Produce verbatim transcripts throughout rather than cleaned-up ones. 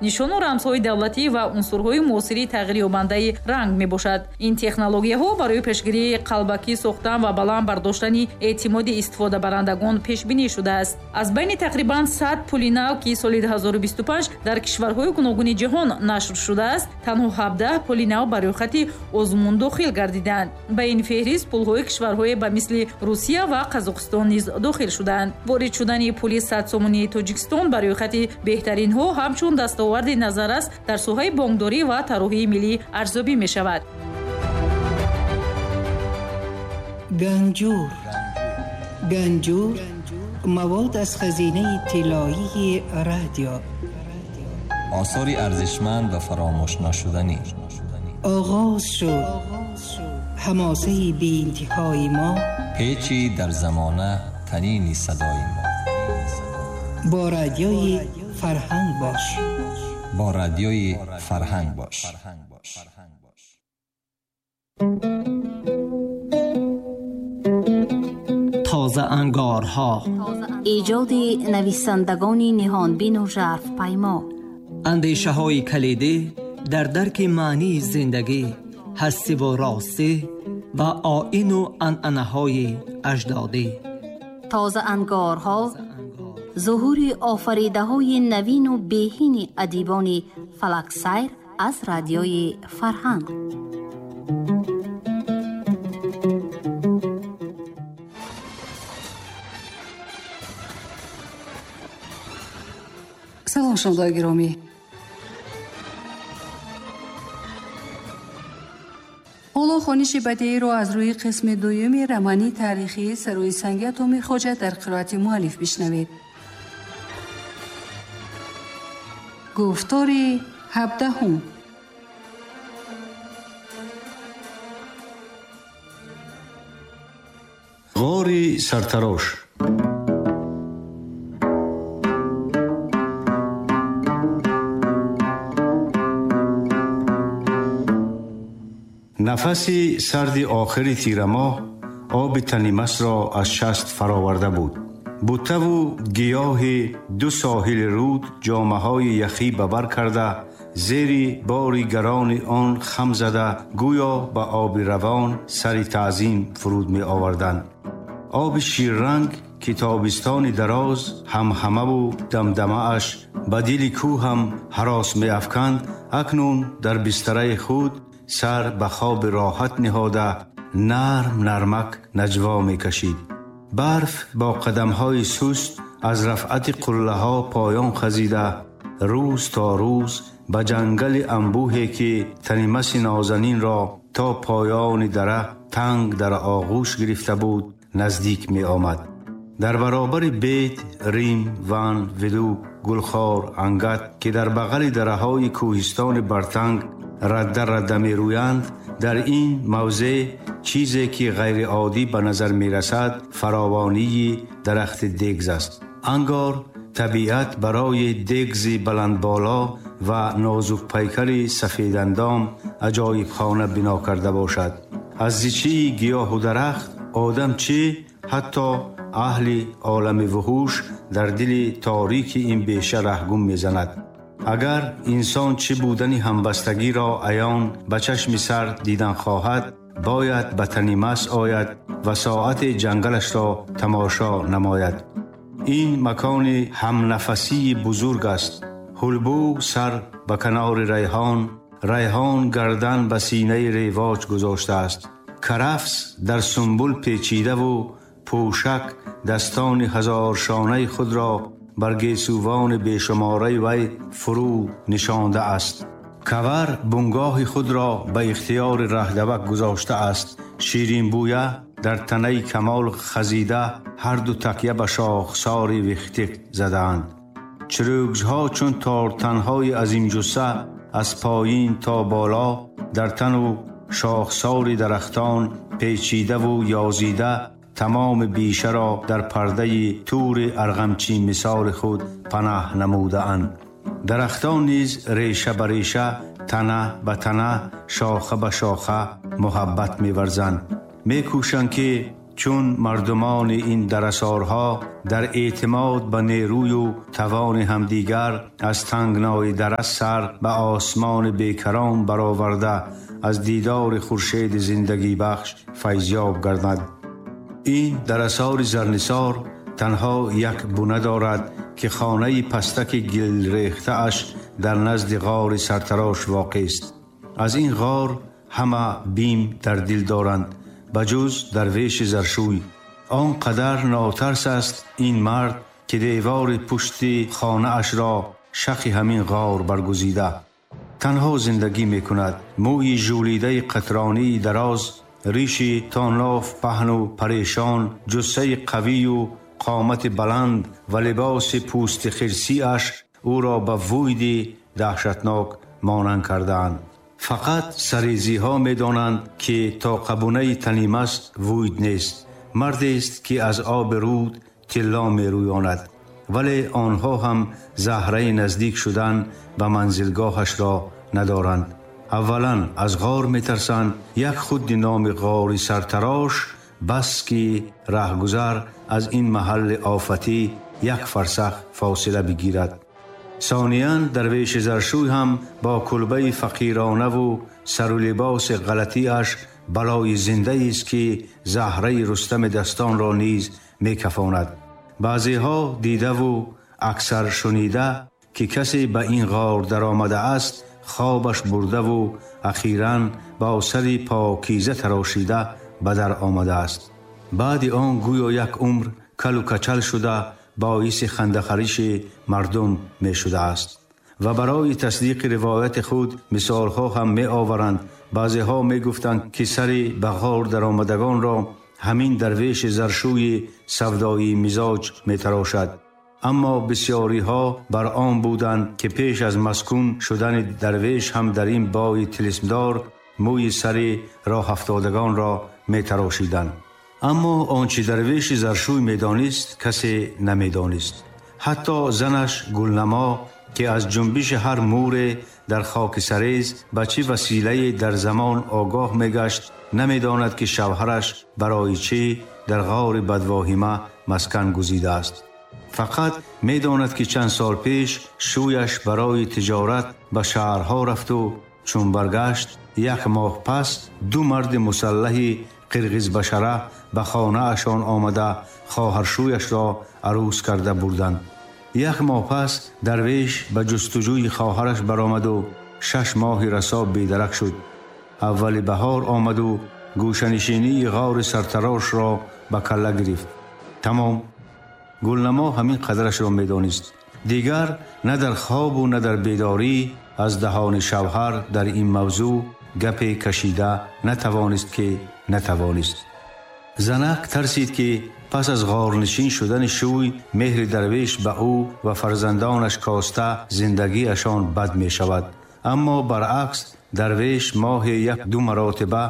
Нишону рамзҳои давлатӣ ва унсурҳои муосири тағйирёбандаи ранг мебошад. Ин технологияҳо барои пешгирии қалбакӣ сохтан ва баланд бардоштани эътимоди истифодабарандагон пешбинӣ шудааст. Аз байни тақрибан сад пули нав, ки соли ду ҳазору бисту панҷ дар кишварҳои гуногуни ҷаҳон нашр шудааст, танҳо ҳабдаҳ пули нав ба рӯйхати озмун дохил гардиданд. Ба ин феҳрист пулҳои кишварҳое ба мисли Русия ва Қазоқистон низ дохил шуданд. Ворид шудани пули сад сомонии Тоҷикистон ба рӯйхати беҳтаринҳо ҳамчун дастоварди назаррас дар соҳаи бонкдорӣ ва тарроҳии миллӣ арзёбӣ мешавад. Ганҷур. Ганҷур мавод аз хазинаи тиллоии радио. Осори арзишманд ва фаромӯшнашуданӣ. Оғоз шуд ҳамосаи беинтиҳои мо, печи дар замона танини садои мо. Бо радиои фарҳанг бош. Бо радиои фарҳанг бош. Тоза ангорҳо. Эҷоди нависандагони ниҳонбину жарфпаймо. Андешаҳои калидӣ дар дарки маънии зиндагӣ, ҳастиву ростӣ ва оину анъанаҳои аҷдодӣ. Тоза ангорҳо зуҳури офаридаҳои навину беҳини адибони фалаксайр аз радиои фарҳанг. Салом шунавандагони гиромӣ. Ҳоло хониши бадеиро аз рӯи қисми дуюми романи таърихии Сарои санги атоми хоҷа дар қироати муаллиф бишнавед. Гуфтори ҳабдаҳум. Ғори сартарош. Нафаси сарди охири тирамоҳ оби танимасро аз шаст фароварда буд. Буттаву гиёҳи ду соҳили руд ҷомаҳои яхӣ ба бар карда, зери бори гарони он хам зада, гӯё ба оби равон сари таъзим фуруд меоварданд. Оби ширранг ки тобистони дароз ҳамҳамаву дамдамааш ба дили кӯҳ ҳам ҳарос меафканд, акнун дар бистараи худ сар ба хоби роҳат ниҳода, нарм нармак наҷво мекашид. Барф бо қадамҳои суст аз рафъати қуллаҳо поён хазида, рӯз то рӯз ба ҷангали анбӯҳе ки танимаси нозанинро то поёни дара танг дар оғӯш гирифта буд наздик меомад. Дар баробари бед, рим, ван, виду, гулхор, ангат ки дар бағали дараҳои кӯҳистони бартанг радда радда мерӯянд, дар ин мавзеъ чизе ки ғайриоддӣ ба назар мерасад фаровонии дарахти дегз аст. Ангор табиат барои дегзи баландболо ва нозукпайкари сафедандом аҷоибхона бино карда бошад. Аз зичии гиёҳу дарахт одам чӣ, ҳатто аҳли олами вуҳуш дар дили торики ин беша раҳгум мезанад. Агар инсон чӣ будани ҳамбастагиро аён ба чашми сар дидан хоҳад, бояд ба танимас ояд ва соати ҷангалашро тамошо намояд. Ин макони ҳамнафасии бузург аст. Ҳулбу сар ба канори райҳон, райҳон гардан ба синаи ревоҷ гузоштааст. Карафс дар сумбул печидаву пӯшак дастони ҳазоршонаи худро бар гесувони бешумораи вай фурӯ нишондааст. Кавар бунгоҳи худро ба ихтиёри раҳдавак гузоштааст. Ширинбӯя дар танаи камол хазида ҳарду такя ба шохсори вихтик задаанд. Чирӯгзҳо чун тортанҳои азимҷусса аз поин то боло дар тану шохсори дарахтон печидаву ёзида тамоми бишаро дар пардаи тури арғамчи мисоли худ панаҳ намудаанд. Дарахтон низ реша ба реша, тана ба тана, шоха ба шоха муҳаббат меварзанд. Мекӯшанд ки Чун мардумони ин дарасорҳо дар эътимод ба нерӯю тавони ҳамдигар аз тангнои дара сар ба осмони бекарон бароварда аз дидори хуршеди зиндагибахш файзёб гардад. Ин дарасори Зарнисор танҳо як буна дорад ки хонаи пастаки гилрехтааш дар назди ғори сартарош воқеъ аст. Аз ин ғор ҳама бим дар дил доранд, ба ҷуз дарвеши заршӯй. Он қадар нотарс аст ин мард, ки девори пушти хонаашро шахи ҳамин ғор баргузида. Танҳо зиндагӣ мекунад. Мӯи жӯлидаи қатронии дароз, риши то ноф паҳну парешон, ҷуссаи қавию қомати баланд ва либоси пӯсти хирсиаш ӯро ба вуйди даҳшатнок монанд кардаанд. Фақат сарезиҳо медонанд, ки то қабунаи Танимас вуйд нест, мардест, ки аз оби руд тилло мерӯёнад. Вале онҳо ҳам заҳраи наздик шудан ба манзилгоҳашро надоранд. Аввалан, аз ғор метарсанд. Як худи номи ғори сартарош бас, ки раҳгузар аз ин маҳалли офатӣ як фарсах фосила бигирад. Сониян, дарвеши заршӯй ҳам бо кулбаи фақиронаву сару либоси ғалатиаш балои зиндаест, ки заҳраи Рустами дастонро низ мекафонад. Баъзеҳо дидаву аксар шунида, ки касе ба ин ғор даромадааст, хобаш бурдаву ахиран бо сари покиза тарошида ба дар омадааст. Баъди он гӯё як умр калу качал шуда, боиси хандахариши мардум мешудааст. Ва барои тасдиқи ривояти худ мисолҳо ҳам меоваранд. Баъзеҳо мегуфтанд, ки сари ба ғор даромадагонро ҳамин дарвеши заршӯи савдоӣ мизоҷ метарошад. Аммо бисёриҳо бар он буданд, ки пеш аз маскун шудани дарвеш ҳам дар ин бои тилисмдор мӯи сари роҳафтодагонро метарошиданд. Аммо он чи дарвеши заршӯй медонист, касе намедонист. Ҳатто занаш Гулнамо, ки аз ҷунбиши ҳар мӯре дар хоки сарез ба чӣ василае дар замон огоҳ мегашт, намедонад, ки шавҳараш барои чӣ дар ғори бадвоҳима маскан гузидааст. Фақат медонад, ки чанд сол пеш шӯяш барои тиҷорат ба шаҳрҳо рафту чун баргашт, як моҳ пас ду марди мусаллаҳи қирғизбашара ба хонаашон омада, хоҳаршӯяшро арӯс карда бурданд. Як моҳ пас дарвеш ба ҷустуҷӯи хоҳараш баромаду шаш моҳи расо бедарак шуд. Аввали баҳор омаду гӯшанишинии ғори сартарошро ба калла гирифт. Тамом. Гулнамо ҳамин қадрашро медонист. Дигар на дар хобу на дар бедорӣ аз даҳони шавҳар дар ин мавзӯъ гапе кашида натавонист, ки натавонист. Занак тарсид, ки пас аз ғорнишин шудани шӯй меҳри дарвеш ба ӯ ва фарзандонаш коста, зиндагиашон бад мешавад. Аммо баръакс, дарвеш моҳе як ду маротиба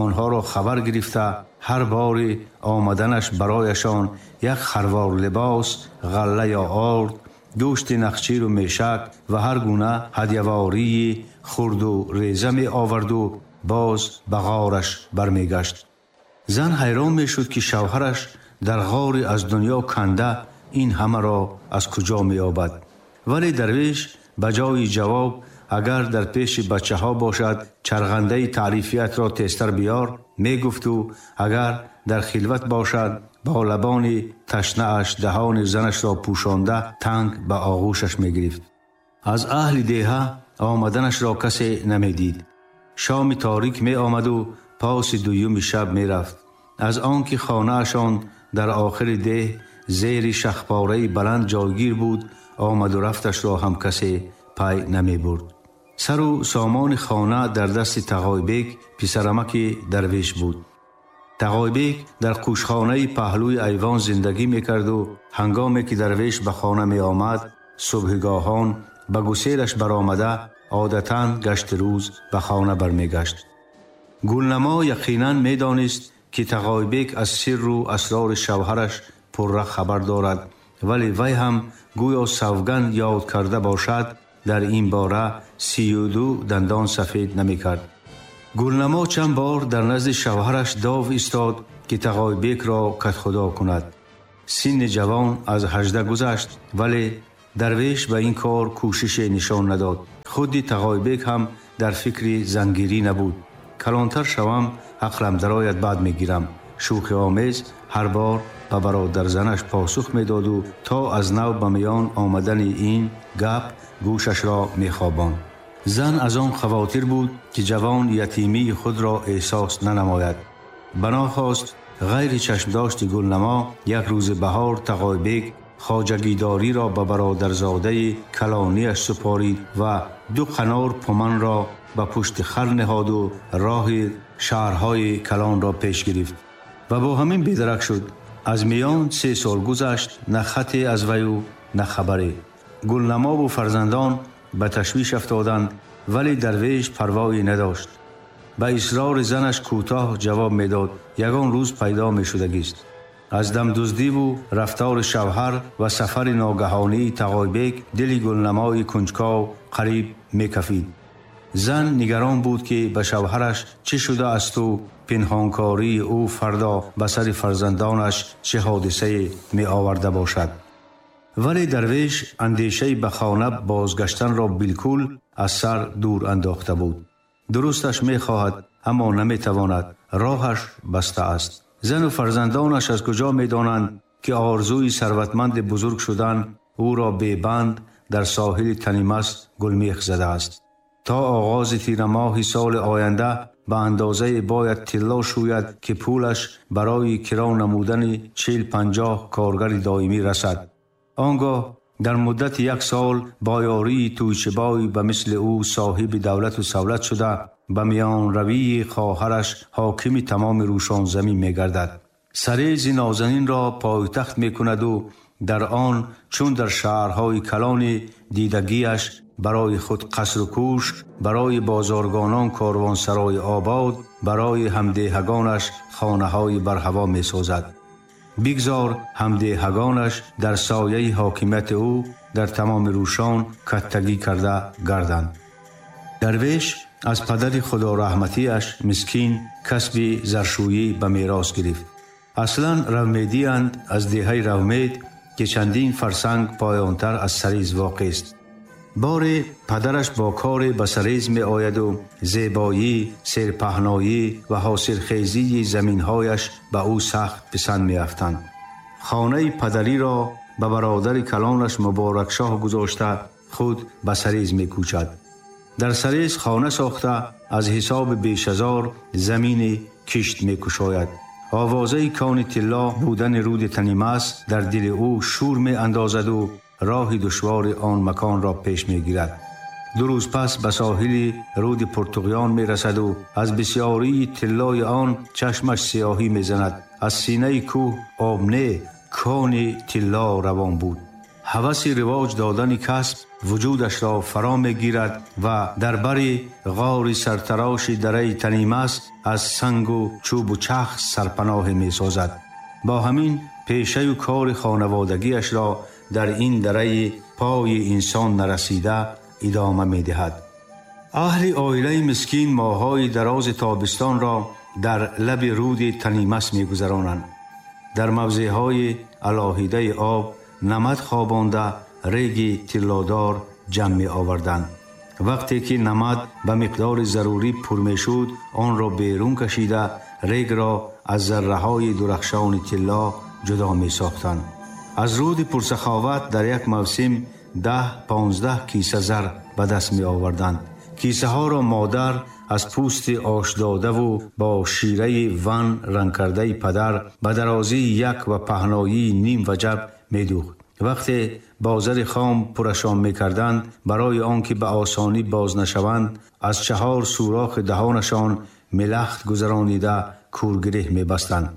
онҳоро хабар гирифта, ҳар бори омаданаш барояшон як харвор либос, ғалла ё орд, гӯшти нахчиру мешак ва ҳар гуна ҳадявории хурду реза меоварду боз ба ғораш бармегашт. Зан ҳайрон мешуд, ки шавҳараш дар ғори аз дунё канда ин ҳамаро аз куҷо меёбад. Вале дарвеш ба ҷои ҷавоб, агар дар пеши бачаҳо бошад, чарғандаи таърифиятро тезтар биёр мегуфту агар дар хилват бошад, бо лабони ташнааш даҳони занашро пӯшонда, танг ба оғӯшаш мегирифт. Аз аҳли деҳа омаданашро касе намедид. Шоми торик меомаду поси дуюми шаб мерафт. Аз он ки хонаашон дар охири деҳ зери шахпораи баланд ҷойгир буд, омаду рафташро ҳам касе пай намебурд. Сару сомони хона дар дасти Тағойбек, писарамаки дарвеш буд. Тағойбек дар қӯшхонаи паҳлӯи айвон зиндагӣ мекарду ҳангоме ки дарвеш ба хона меомад, субҳгоҳон ба гуселаш баромада, одатан гашти рӯз ба хона бармегашт. Гулнамо яқинан медонист, ки Тағойбек аз сирру асрори шавҳараш пурра хабар дорад, вале вай ҳам гӯё савганд ёд карда бошад, дар ин бора сию ду дандон сафед намекард. Гулнамо чанд бор дар назди шавҳараш дов истод. ки Тағойбекро кадхудо кунад. Синни ҷавон аз ҳаждаҳ гузашт, вале Дарвеш ба ин кор кӯшише нишон надод. Худи Тағойбек ҳам дар фикри зангирӣ набуд. Калонтар шавам, ақлам дарояд, баъд мегирам. Шӯхиомез ҳар бор ба бародарзанаш посух медоду то аз нав ба миён омадани ин гап гӯшашро мехобонд. Зан аз он хавотир буд, ки ҷавон ятимии худро эҳсос нанамояд. Бано хост ғайри чашмдошти Гулнамо як рӯзи баҳор Тағойбек хоҷагидориро ба бародарзодаи калонияш супорид ва ду қанор пуманро ба пушти хар ниҳоду роҳи шаҳрҳои калонро пеш гирифт ва бо ҳамин бедарак шуд. Аз миён се сол гузашт, на хате аз ваю, на хабаре. Гулнамову фарзандон ба ташвиш афтоданд, вале Дарвеш парвое надошт. Ба исрори занаш кӯтоҳ ҷавоб медод: ягон рӯз пайдо мешудагист. Аз дамдуздиву рафтори шавҳар ва сафари ногаҳонии Тағойбек дили Гулнамои кунҷков қариб мекафид. Зан нигарон буд, ки ба шавҳараш чӣ шудаасту пинҳонкории ӯ фардо ба сари фарзандонаш чӣ ҳодисае меоварда бошад. Вале Дарвеш андешаи ба хона бозгаштанро билкул аз сар дур андохта буд. Дурусташ мехоҳад, аммо наметавонад, роҳаш баста аст. Зану фарзандонаш аз куҷо медонанд, ки орзуи сарватманди бузург шудан ӯро бебанд дар соҳили Танимас гулмех задааст. То оғози тирамоҳи соли оянда ба андозае бояд тилло шӯяд, ки пулаш барои киро намудани чил панҷоҳ коргари доимӣ расад. Он гоҳ дар муддати як сол бо ёрии тӯйчибой ба мисли ӯ соҳиби давлату савлат шуда, ба миёнравии хоҳараш ҳокими тамоми Рӯшонзамин мегардад. Сарези нозанинро пойтахт мекунаду дар он, чун дар шаҳрҳои калони дидагиаш, барои худ қасру кӯшк, барои бозоргонон корвонсарои обод, барои ҳамдеҳагонаш хонаҳои барҳаво месозад. Бигзор ҳамдеҳагонаш дар сояи ҳокимияти ӯ дар тамоми Рӯшон каттагӣ карда гарданд. Дарвеш аз падари худораҳматиаш мискин касби заршӯӣ ба мерос гирифт. Аслан равмедиянд, аз деҳаи Равмед, ки чандин фарсанг поёнтар аз Сариз воқеъст. Боре падараш бо коре ба Сариз меояду зебоӣ, серпаҳноӣ ва ҳосилхезии заминҳояш ба ӯ сахт писанд меафтанд. Хонаи падариро ба бародари калонаш Муборакшоҳ гузошта, худ ба Сариз мекӯчад. Дар Сариз хона сохта, аз ҳисоби бешазор замини кишт мекушояд. Овозаи кони тилло будани руди Танимас дар дили ӯ шӯр меандозаду роҳи душвори он маконро пеш мегирад. Ду рӯз пас ба соҳили руди Пуртуғён мерасаду аз бисёрии тиллои он чашмаш сиёҳӣ мезанад. Аз синаи кӯҳ об не, кони тилло равон буд. Ҳаваси ривоҷ додани касб вуҷудашро фаро мегирад ва дар бари ғори сартароши дараи Танимас аз сангу чӯбу чах сарпаноҳе месозад. Бо ҳамин пешаю кори хонаводагиашро дар ин дараи пои инсон нарасида идома медиҳад. Аҳли оилаи мискин моҳҳои дарози тобистонро дар лаби руди Танимас мегузаронанд. Дар мавзеъҳои алоҳидаи об намад хобонда, реги тиллодор ҷамъ меоварданд. Вақте ки намад ба миқдори зарурӣ пур мешуд, онро берун кашида, регро аз зарраҳои дурахшони тилло ҷудо месохтанд. Аз руди пурсаховат дар як мавсим даҳ понздаҳ киса зар ба даст меоварданд. Кисаҳоро модар аз пӯсти ошдодаву бо шираи ван рангкардаи падар ба дарозии як ва паҳноии ним ваҷаб медӯхт. Вақте бо зари хом пурашон мекарданд, барои он ки ба осонӣ боз нашаванд, аз чаҳор сӯрохи даҳонашон мелахт гузаронида, кӯргиреҳ мебастанд.